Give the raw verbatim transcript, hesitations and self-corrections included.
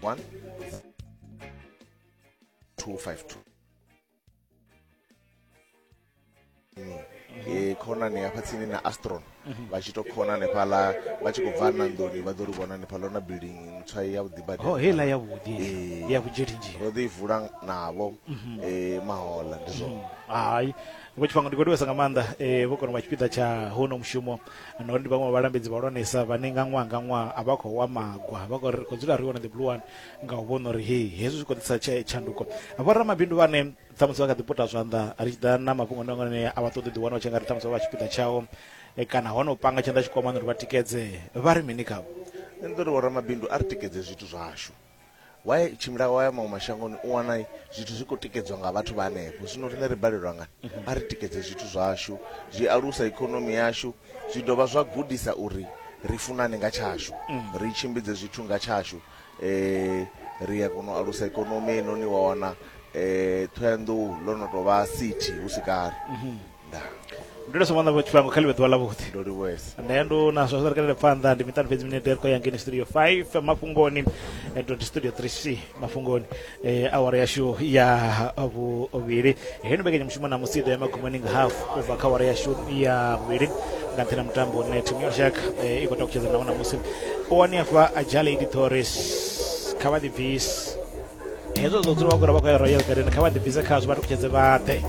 one two five two. E khonani hafha tsini na Astron vha tshi to khona hanefhaḽa vha tshi khou bva Nandoni vha ḓo ri vhona hanefhaḽa na building ntswa ya vhuḓi badi. Ho heiḽa ya vhuḓi ya vhudzhelinzhili ro ḓi vula navho eh mahola ndi zwone. Hai vho Tshifhango ndi khou livhesa nga maanḓa eh vho kona u vha tshipiḓa tsha hono mushumo na uri ndi vhaṅwe vha vhalambedzi vhahulwanesa vhane nga ṅwaha nga ṅwaha a vha khou wa magwa vha khou ri khou dzula ri hone the blue one nga u vhona uri hei hezwi zwi khou ḓisa tshanduko. Vhoramabindu vhane ṱhamusi vha kha ḓi puta zwanḓa ri tshi ḓa na mafhungo ane a vha ṱoḓi ḓiwana vha tshi nga ri ṱhamusi vha vha tshipiḓa tshao kana hono panga tshanḓa tshikwamani uri vha tikedze vha ri mini khavho? Nṋe ndi uri vhoramabindu a ri tikedze zwithu zwashu. Why tshimbila wa ya maṅwe mashangoni u wana zwithu zwi khou tikedzwa nga vhathu vha hanefho, zwino riṋe ri balelwa ngani? A ri tikedze zwithu zwashu, zwi alusa ikonomi yashu, zwi dovha zwa gudisa uri ri funane nga tshashu, ri tshimbidze zwithu nga tshashu. Eh ri a kona u alusa ikonomi heinoni wa wana eh Thohoyandou ḽo no tou vha city hu si kale. Ndaa. Ndi ndo somana vho Tshifhango kha ḽivhe ḓuvha ḽa vhuḓi. Ndo livhuwesa. Nṋe ndo na zwa ri kalele phanḓa ndi miṱanu fhedzi minete ri khou ya ngeni studio five mafhungoni ndo studio three C mafhungoni eh awara yashu ya vhuvhili. Heno mbekanyamushumo na musi ḓo ya magumoni nga half u bva kha awara yashu ya vhuvhili nga nṱhani ha mutambo une thimu ya lushaka i khou takutshedza nawo ṋamusi. U wani afha Jalady Torres kha vha ḓibvise hezwo zwo dzula vha khou vha khou ya Royal Garden kha vha ḓibvise khazwo vha takutshedze vhaḓe.